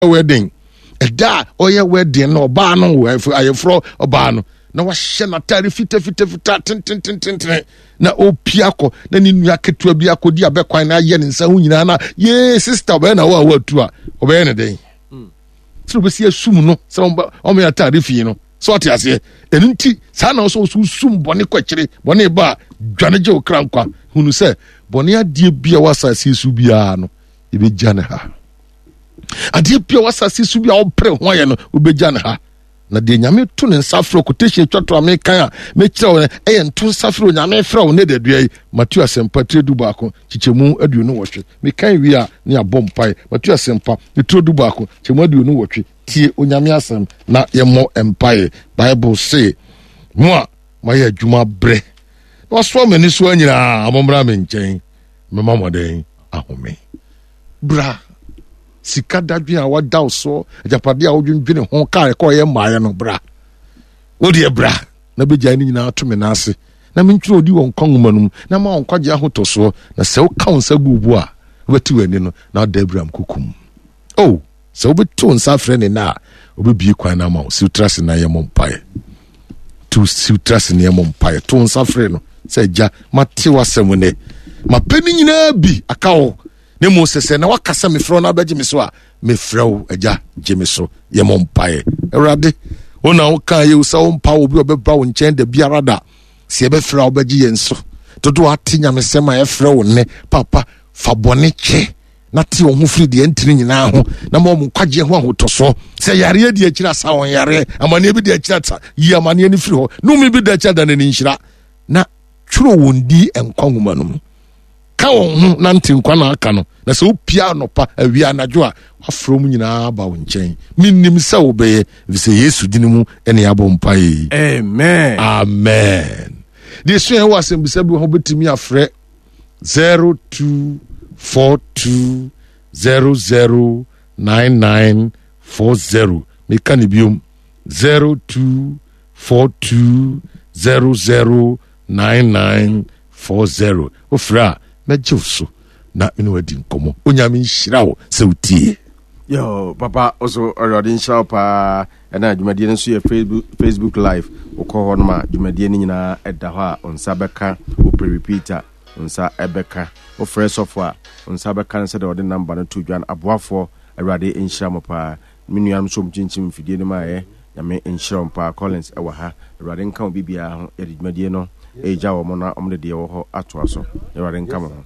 Wedding ɛda a ɔyɛ wedding no, ɔbaa no ayɛforɔ ɔbaa no na wahyɛ n'ataare fitafitafita tententententene na ɔpia kɔ na ne nua ketewa bi akɔdi abɛkwan na ayɛ ne nsa ho nyinaa na yee sista ɔbɛyɛ na wo a woatu a ɔbɛyɛ ne dɛn sɛ ɔbɛsi asum no sɛ ɔmɛ ataare fi no sɛ ɔte aseɛ. Ɛno nti saa na ɔsɛ ɔso sum bɔne kɔ akyire. Bɔne ba a, dwane gye wo kra nkwa. Hunu sɛ bɔne adeɛ bi a wɔ asase so biara no, yɛbɛgya ne ha. Adeɛ bi a wɔ asase so bi a wɔpere ho ayɛ no, wobɛgya ne ha. Na deɛ Nyame to ne nsa frɛ, quotation atwa to a mekan a mekyerɛ wo no, ɛyɛ nto nsa frɛ Onyame frɛ wo ne dadua yi. Mateo Asɛmpa tire 11 kyekyɛmu 28. Mekan wie a ne abɔ mpae. Mateo Asɛmpa tire 11 kyekyɛmu 28. Tie Onyame asɛm na yɛmmɔ mpae. Bible se, mo a moayɛ adwuma brɛ na wasoa mo ani soa nyinaa, mommra me nkyɛn, mɛma mo dɛn? Ahome. Bra. Sika dadwen a wada wo soɔ, agyapadeɛ a wodwendwene ho, kaa ɛkɔ yɛ mmaeɛ no, bra. Wodeɛ bra na bɛgyae no nyinaa to me nan ase na mentwerɛ odi wɔ nkwa nwoma no mu na ma wo nkwagye ahotɔsoɔ. Na sɛ woka wo nsa gu wo bo a, wobɛte w'ani no na wada Abraham kokom. Oh, sɛ wobɛto wo nsa afrɛ ne nna a, wobɛbie kwan no ama wo. Siw tra se na yɛmmɔ mpaeɛ. To siw tra se na yɛmmɔ mpaeɛ. To wo nsa frɛ no sɛ, Agya, mate w'asɛm nnɛ. Mapɛ ne nyinaa bi aka wo. Na mmom sɛ sɛ na waka sɛ mefrɛ wo na abɛgye me so a, mefrɛ wo, Agya, gye me so. Yɛmmɔ mpaeɛ. Awurade, wo na wokaa yɛ sɛ wompa obi a ɔbɛba wo nkyɛn da biara da. Sɛ yɛbɛfrɛ a, wobɛgye yɛn so. Dodoɔ ate nyamesɛm a ɛfrɛ wo nnɛ. Papa, fa bɔne kyɛ na te wɔn ho firi deɛ ntini nyinaa ho na ma wɔn nkwagyeɛ ho ahotɔsoɔ. Sɛ yareɛ di akyiri asa wɔn yareɛ, amaneɛ bi di akyiri asa, yi amaneɛ no firi hɔ, nome bi da akyiri ada n'ani nhyira, na twerɛ wɔn di nkwa nwoma no mu. Ka wɔn ho na nte nkwa na aka no, na sɛ wopia anɔpa, awia, anadwo a, wafrɛ wɔn nyinaa aba wo nkyɛn. Menim sɛ wobɛyɛ, ɛfiri sɛ Yesu dini mu ɛne abɔ mpaeɛ yi. Amen. Amen. Deɛ sua ɛwɔ asɛmbisa bi wɔ hɔ, wobɛtumi afrɛ 0242 009940. Meka ne biom, 0242 009940. Wofrɛ a, mɛgye wo so na mene wadi nkɔmmɔ. Onyame nhyira wo sɛ wotie. Yo, papa, also Awurade nhyira wo paa. Ɛna dwumadie no nso yɛ Facebook, Facebook live. Wokɔ hɔ nom a, dwumadie no nyinaa ɛda hɔ a, wo nsa bɛka. Wopɛ repeat a, wo nsa ɛbɛka. Wofrɛ sɔfo a, wo nsa bɛka no sɛdeɛ ɔde namba no to dwa no. Aboafoɔ, Awurade nhyira mo paa. Me nuanom nso wɔkyinkyim mfidie no mu ayɛ. Nyame nhyira wɔn paa. Collins ɛwɔ ha. Awurade nka obi biara ho. Yɛde dwumadie no ɛregya wɔn na wɔde deɛ ɛwɔ hɔ atoa so. Awurade nka mo ho.